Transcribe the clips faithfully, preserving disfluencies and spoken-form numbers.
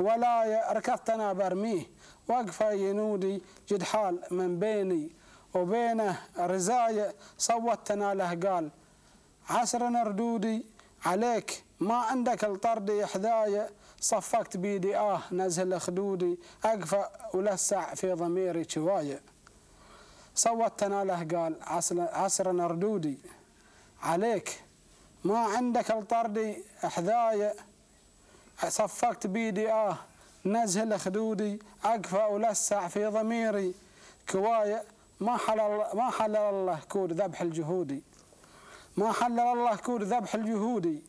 ولا ركضت أنا برميه، وقفة ينودي جد حال من بيني وبينه رزايا، صوت أنا له قال عسر ردودي عليك ما عندك الطردي حذايا، صفقت بيدي آه نزل خدودي، أقفى ولسع في ضميري شواية. صوت أنا له قال عسر ردودي عليك ما عندك الطردي حذايا، صفقت بيدي آه نزل خدودي، أقفى ولسع في ضميري كواية. ما حلل ما حلل الله كود ذبح الجهودي، ما حلل الله كود ذبح الجهودي،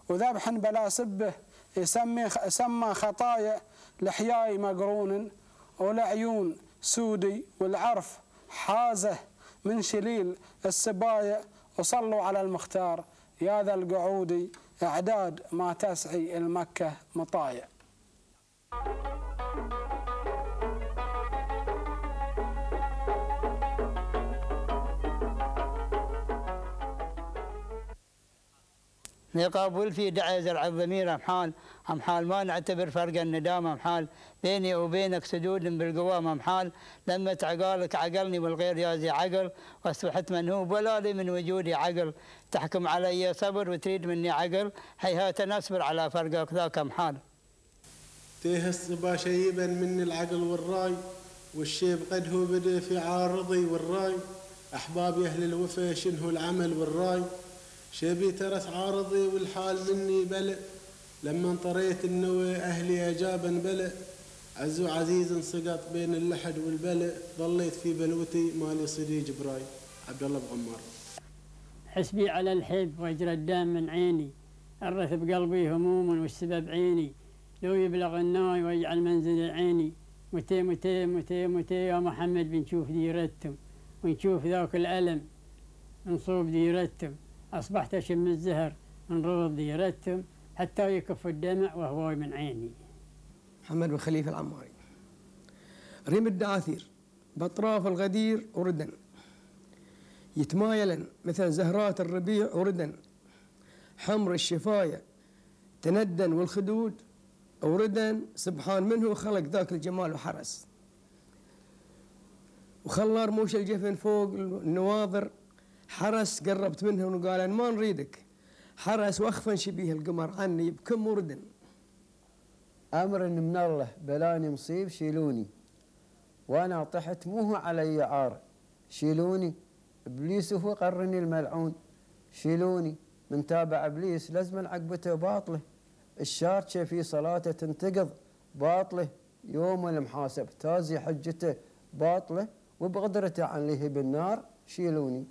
وذبح بلا سبه يسمي سمى خطايا، لحياي مقرون والعيون سودي، والعرف حازه من شليل السبايا، وصلوا على المختار يا ذا القعودي، اعداد ما تسعي المكة مطايا. يقابل في دعي زرع الضمير أمحال أمحال ما نعتبر فرق الندام أمحال، بيني وبينك سدود بالقوام أمحال، لما عقالك عقلني والغير يازي عقل، واصبحت منهوب ولا لي من وجودي عقل، تحكم علي صبر وتريد مني عقل، هيهات نصبر على فرقك ذاك أمحال. تيه الصبا شيبا مني العقل والراي، والشيب قد هو بدأ في عارضي والراي، أحبابي أهل الوفا شنه العمل والراي، شبي ترس عارضي والحال مني بلء، لما انطريت النوى أهلي أجابا بلء، عز عزيز سقط بين اللحد والبلء، ظليت في بلوتي مالي صديق براي. عبد الله بغمار. حسبي على الحب ويجرى الدم من عيني، الرث بقلبي هموم والسبب عيني، لو يبلغ الناي ويجعل منزل عيني، متى متى متى متى يا محمد بنشوف ديرتهم، ونشوف ذاك الألم نصوب ديرتهم، أصبحت أشم الزهر من روض ديرتهم، حتى يكف الدمع وهواي من عيني. محمد بن خليفة العماري. ريم الدعاثير بأطراف الغدير وردا، يتمايلا مثل زهرات الربيع وردا، حمر الشفاية تندن والخدود وردا، سبحان منه خلق ذاك الجمال وحرس، وخلى رموش الجفن فوق النواظر، حرس قربت منه وقال ما نريدك، حرس واخفا شبيه القمر عني بكم وردا. أمر من الله بلاني مصيب شيلوني، وأنا طحت موه علي عار، شيلوني إبليس هو قرني الملعون، شيلوني من تابع إبليس لازم عقبته باطله، الشارشة في صلاته تنتقض باطله، يوم المحاسب تازي حجته باطله، وبقدرته عن لهب النار شيلوني.